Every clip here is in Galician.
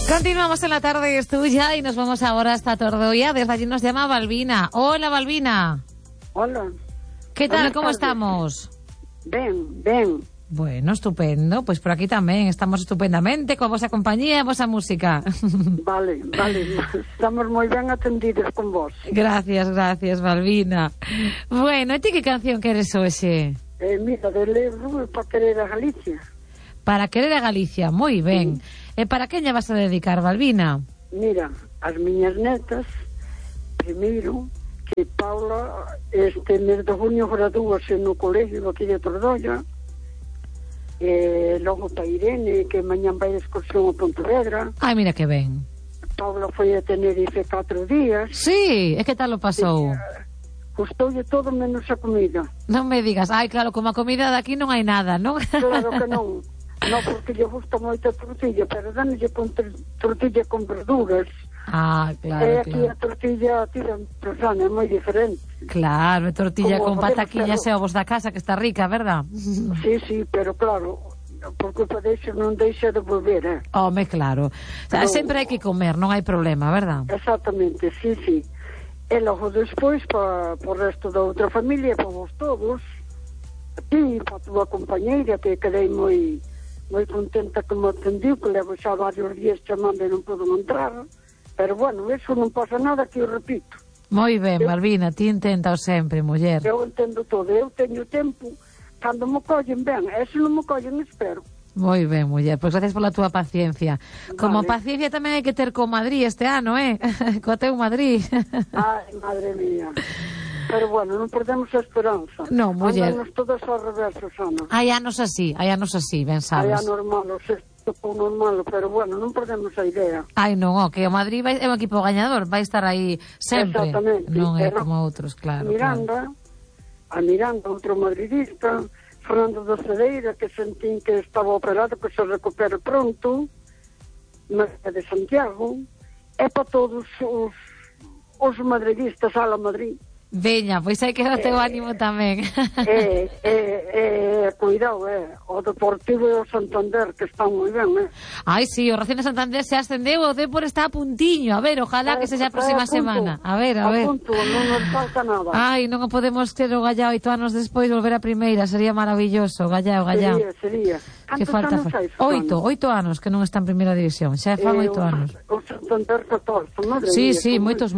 Continuamos en La Tarde es Tuya y nos vamos ahora hasta Tordoia. Desde allí nos llama Balbina. Hola, Balbina. Hola. ¿Qué tal? Buenas ¿Cómo tardes. estamos? Ben. Bueno, estupendo. Pues por aquí tamén estamos estupendamente, con vosa compañía e vosa música. Vale. Estamos moi ben atendidos con vos. Gracias, Balbina. Bueno, e ti que canción queres hoxe? Mira, de Leo Rubio para querer a Galicia. Para querer a Galicia, moi ben. E para quen lle vas a dedicar, Balbina? Mira, as miñas netas, primeiro, que Paula este mes de junio gradúase no colegio aquí de Tordoia, logo para Irene, que mañán vai de excursión a Pontevedra. Ai, mira que ben. Paula foi a Tenerife 4 días. Sí, e que tal o pasou? Gustoulle todo menos a comida. Non me digas, ai, claro, como a comida de aquí non hai nada, non? Claro que non. Non, porque lle gusta moito a tortilla, pero danlle con tortilla con verduras. Ah, claro, E aquí claro. a tortilla tira persona, é moi diferente. Claro, tortilla Como con podemos pataquiñas e hacerlo. ovos da casa, que está rica, verdad? Sí, pero claro, por culpa deixo non deixa de volver, Home, claro. O sea, No. sempre hai que comer, non hai problema, verdad? Exactamente, sí. E logo despois, para o resto da outra familia, para vos todos, a ti, para a tua compañeira, que quedei moi contenta que me atendiu, que levo xa varios días chamando e non podo entrar, pero bueno, eso non pasa nada, que eu repito. Moi ben, Balbina, ti intenta sempre, muller. Eu entendo todo, eu teño tempo, cando me collen ben, e se non me collen, espero. Moi ben, muller, pois gracias pola túa paciencia. Como Vale. paciencia tamén hai que ter co Madrid este ano, Co teu Madrid. Ai, madre mía. Pero bueno, non perdemos a esperanza. No, muller. Andamos todos ao revés, Susana. Hai anos así, ben Hai sabes. anormal, o sexto con normal, pero bueno, non perdemos a idea. Ai, non, que o Madrid é un equipo gañador, vai estar aí sempre. Exactamente. Non é Pero como outros, claro. A Miranda, outro madridista, Fernando da Cedeira, que sentín que estaba operado, que se recupere pronto, María de Santiago, e para todos os madridistas, ala Madrid. Veña, pois hai que dar o teu ánimo tamén. Cuidado, o Deportivo e o Santander, que están moi ben, Ai, sí, o Racing de Santander se ascendeu, o Depor está a puntiño. A ver, ojalá que sexa a próxima semana. A ver. A punto, non nos falta nada. Ai, non o podemos ter o Gallao 8 anos despois volver a primeira, sería maravilloso, Gallao. Sería. Que falta anos hai, 8 anos que non está en primeira división, xa fan 8 anos. O Santander 14, madre Sí, mía, moitos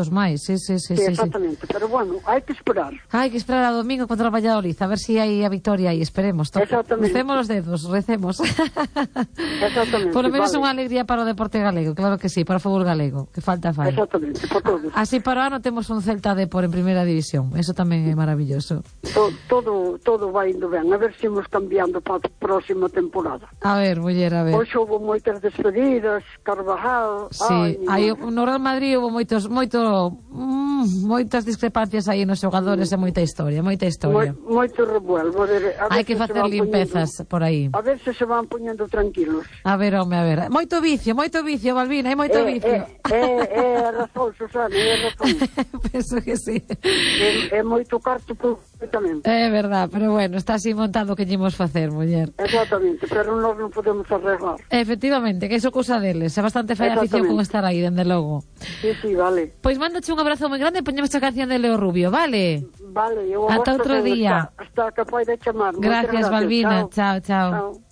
máis. Sí. Exactamente, pero bueno, hai que esperar. Hai que esperar a domingo contra o Valladolid, a ver si hai a victoria aí, esperemos. Exactamente. Crucemos os dedos, recemos. Exactamente. Por lo menos vale. unha alegría para o deporte galego, claro que sí, para o fútbol galego, que falta fai. Exactamente, por todos. Así para o ano temos un Celta Depor en primeira división, eso tamén é maravilloso. Todo vai indo ben, a ver se imos cambiando para a próxima temporada. A ver, muller, a ver. Hoxe houve moitas despedidas, Carvajal... Sí, no Real Madrid houve moitas discrepancias aí nos xogadores e moita historia. Moito revuelvo. Hai que facer limpezas por aí. A ver se se van poñendo tranquilos. A ver, home, a ver. Moito vicio, Balbina, hai moito vicio. É razón, Susana, é razón. Penso que sí. É moito carto tamén. É verdad, pero bueno, está así montado o que lle imos facer, muller. Exactamente, pero nós non podemos arreglar. Efectivamente, que iso cousa deles. É bastante fai afición con estar aí, dende logo. Sí, vale. Pois mándoche un abrazo moi grande e poñemos a canción de Leo Rubio, vale? Vale, eu ata outro día. Hasta que poida chamar. Gracias, Balbina. Chao.